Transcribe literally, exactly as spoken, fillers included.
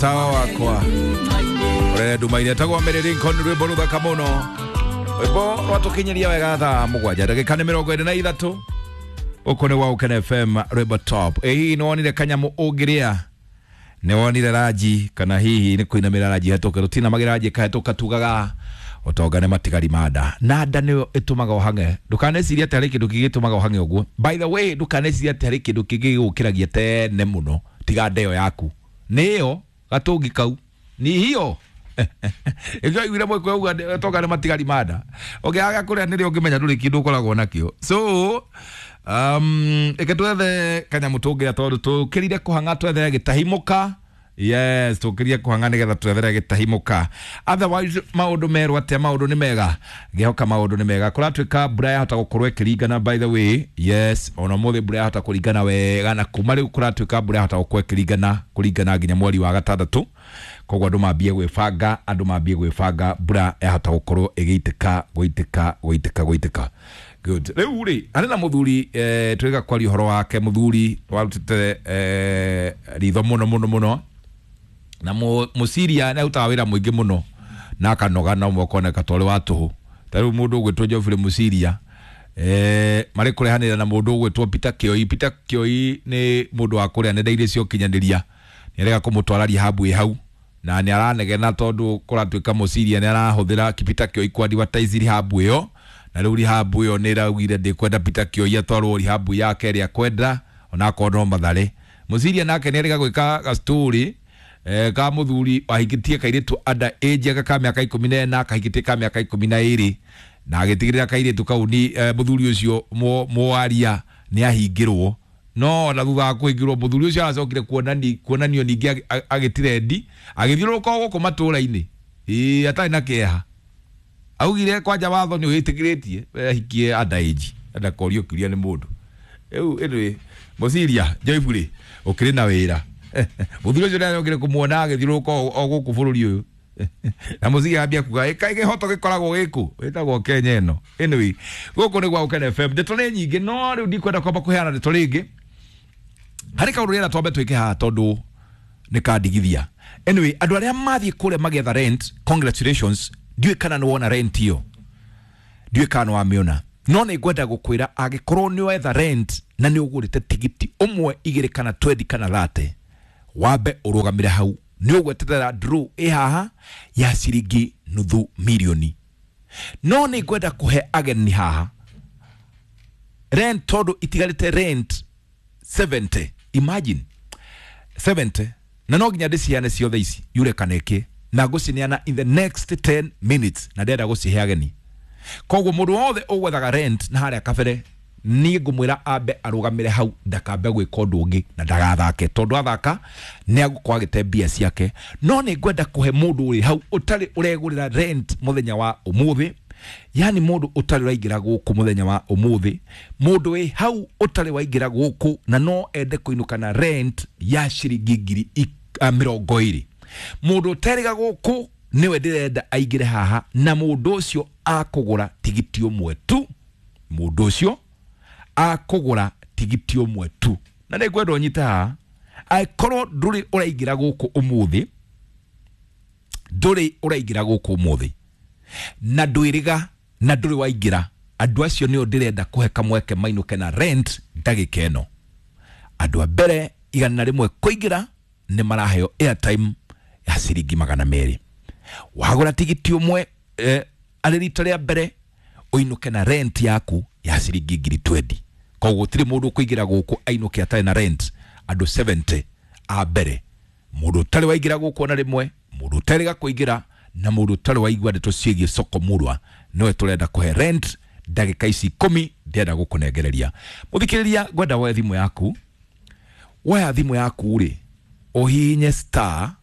Tawa wakwa ũrĩa nduma-inĩ etagwo Mary Lincoln, rwĩmbo rũthaka mũno, rwĩmbo rwatũkinyiria wega thaa mũgwanja ndagĩka nĩ mĩrongo ĩrĩ na ithatũ. Gũkũ nĩ gwa Ũkene F M, rwĩmbo top. Ĩ hihi nĩ wonire kanyamũ ũngĩrĩa? Nĩ wonire ranji? Kana hihi nĩ kũinamĩra ranji hetũke? Rũtinamagĩra ranji ĩkahetũka. Tugaga ũtonga nĩ matigari ma nda, na nda nĩyo ĩtũmaga ũhang'e. Ndũkanecirie atĩ harĩ kĩndũ kĩngĩ gĩtũmaga ũhang'e ũguo. By the way, ndũkanecirie atĩ harĩ kĩndũ kĩngĩ gĩgũkĩragia tene mũno tiga nda ĩyo yaku. Nĩyo gatũngi kau ni hiyo ĩkĩo aiguire mũĩkũ auga ũtonga nĩ matigari ma nda. Ũngĩaga kũrĩa nĩrĩo ũngĩmenya ndũrĩ kĩndũ ũkoragwo nakĩo. So um, ĩke twethe kanyamũ tũngĩrĩa, tondũ tũkĩrire kũhang'a twethere gĩtahimũka. Yes, tũkĩrie kũhang'a nĩgetha twethere gĩtahimũka. Otherwise maũndũ merwo atĩa? Maũndũ nĩ mega, ngĩhoka maũndũ nĩ mega. Kũratuĩka mbura yahota gũkorwo ĩkĩringana, by the way. Yes, ona ũmũthĩ mbura yahota kũringana wega, na kuma rĩu kũratuĩka mbura yahota gũkorwo ĩkĩringana kũringana nginya mweri wa gatandatũ. Koguo andũ mambie gwĩbanga, andũ mambie gwĩbanga, mbura yahota gũkorwo ĩgĩitĩka gũitĩka gũitĩka gũitĩka. Good. Rĩu rĩ, harĩ na mũthuri eh, twĩga kwaria ũhoro wake, mũthuri warutĩte eh, ritho mũno mũno mũno na mũciria nĩ arutaga wĩra mũingĩ mũno na akanoga na ũmwe ũkoneka ta ũrĩ wa tũhũ. Ta rĩu mũndũ ũgwĩtwo Geoffrey Mũciria eh, marĩ kũrehanĩra na mũndũ ũgwĩtwo Peter Kioi. Peter Kioi nĩ mũndũ wa kũrĩa nenda-inĩ cia ũkinyanĩria, nĩ arega kũmũtwara rehab ĩ hau, na nĩ aranegena tondũ kũratuĩka Mũciria nĩ arahũthĩra Peter Kioi ku advertise rehab ĩyo, na rĩu rehab ĩyo nĩ ĩraugire ndĩkwenda Peter Kioi atwarwo rehab yake ĩrĩa kwenda onakorwo no Mathare. Mũciria nake nĩ arega gwĩka gastori eh, ka mũthuri wahikĩtie kairĩtu under age aka ka mĩaka ikũmi na ĩna, kahikĩtie ka mĩaka ikũmi na ĩrĩ, na agĩtigĩrĩra kairĩtu kau ni eh, mũthuri ũcio mwaria nĩ ahingĩrwo. No na thutha wa kũhingĩrwo, mũthuri ũcio aracokire kuonani kuonanio ningĩ agĩtirendi agĩthiũrũrũka o gũkũ matũũra-inĩ, ĩĩ, atarĩ na kĩeha. Augire kwanja watho nĩ wĩtĩkĩrĩtie ahikie under age, ndakorio kĩũria nĩ mũndũ rĩu. Ĩndĩ mũciria Joyfully ũkĩrĩ na wĩra, mũthuri ũcio nĩacokire kũmuona agĩthiũrũrũka o gũkũ bũrũri ũyũ, na mũciria ambia kuga ĩka kĩhoto gĩkoragwo gĩkũ wĩtagwo Kenya ĩno. Anyway, gũkũ nĩ gwa Ũkene F M, ndeto nĩ nyingĩ, no rĩu ndikwenda kwamba kũheana ndeto rĩngĩ. Harĩ kaũndũ rĩera twambe twĩke haha tondũ nĩ kandigithia. Anyway, andũ arĩa mathiĩ kũrĩa magĩetha rent, congratulations. Ndiũĩ kana nĩ wona rent ĩyo, ndiũĩ kana nĩ wamĩona, no nĩ ngwenda gũkwĩra angĩkorwo nĩ wetha rent na nĩ ũgũrĩte tigiti ũmwe, igĩrĩ, kana twendi, kana thate, wambe ũrũgamĩre hau. Nĩ ũgweterera draw ĩ haha ya ciringi nuthu milioni. No nĩ ngwenda kũhe ageni haha rent tondũ itigarĩte rent seventy. Imagine seventy, na no nginya ndĩciheane ciothe ici yure kana ĩkĩ, na ngũcineana in the next ten minutes, na ndĩrenda gũcihe ageni. Koguo mũndũ wothe ũgwethaga rent na harĩa kabere, niĩ ngũmwĩra ambe arũgamĩre hau, ndakambe gwĩka ũndũ ũngĩ na ndagathake, tondũ athaka nĩ agũkorwo agĩte mbia ciake. No nĩ ngwenda kũhe mũndũ ũrĩ hau ũtarĩ ũregũrĩra rent mũthenya wa ũmũthĩ, yani mũndũ ũtarĩ ũraingĩra gũkũ mũthenya wa ũmũthĩ, mũndũ wĩ hau ũtarĩ waingĩra gũkũ na no ende kũinũka na rent ya ciringi ngiri mĩrongo ĩrĩ, mũndũ ũterĩga gũkũ nĩwe ndĩrenda aingĩre haha, na mũndũ ũcio akũgũra tigiti ũmwe tu. Mũndũ ũcio akũgũra tigiti ũmwe tu, na nĩ ngwenda ũnyite haha. Angĩkorwo ndũrĩ ũraingĩra gũkũ ũmũthĩ, ndũrĩ ũraingĩra gũkũ ũmũthĩ na ndwĩrĩga na ndũrĩ waingĩra, andũ acio nĩo ndĩrenda kũhe kamweke mainũke na rent ndagĩka ĩno. Andũ a mbere igana rĩmwe kũingĩra nĩ maraheo airtime ya ciringi magana merĩ. Wagũra tigiti ũmwe eh, arĩ rita rĩa mbere, ũinũke na rent yaku ya ciringi ngiri twenty. Koguo gũtirĩ mũndũ ũkũingĩra gũkũ ainũke atarĩ na rent. Andũ seventy a mbere, mũndũ ũtarĩ waingĩra gũkũ ona rĩmwe, mũndũ ũtarĩga kũingĩra, na mũndũ ũtarĩ waigua ndeto ciĩgiĩ soko murwa, nĩwe tũrenda kũhe rent ndagĩka ici ikũmi ndĩrenda gũkũnengereria. Mũthikĩrĩria, ngwenda woe thimũ yaku. Woya thimũ yaku rĩ, ũhihinye star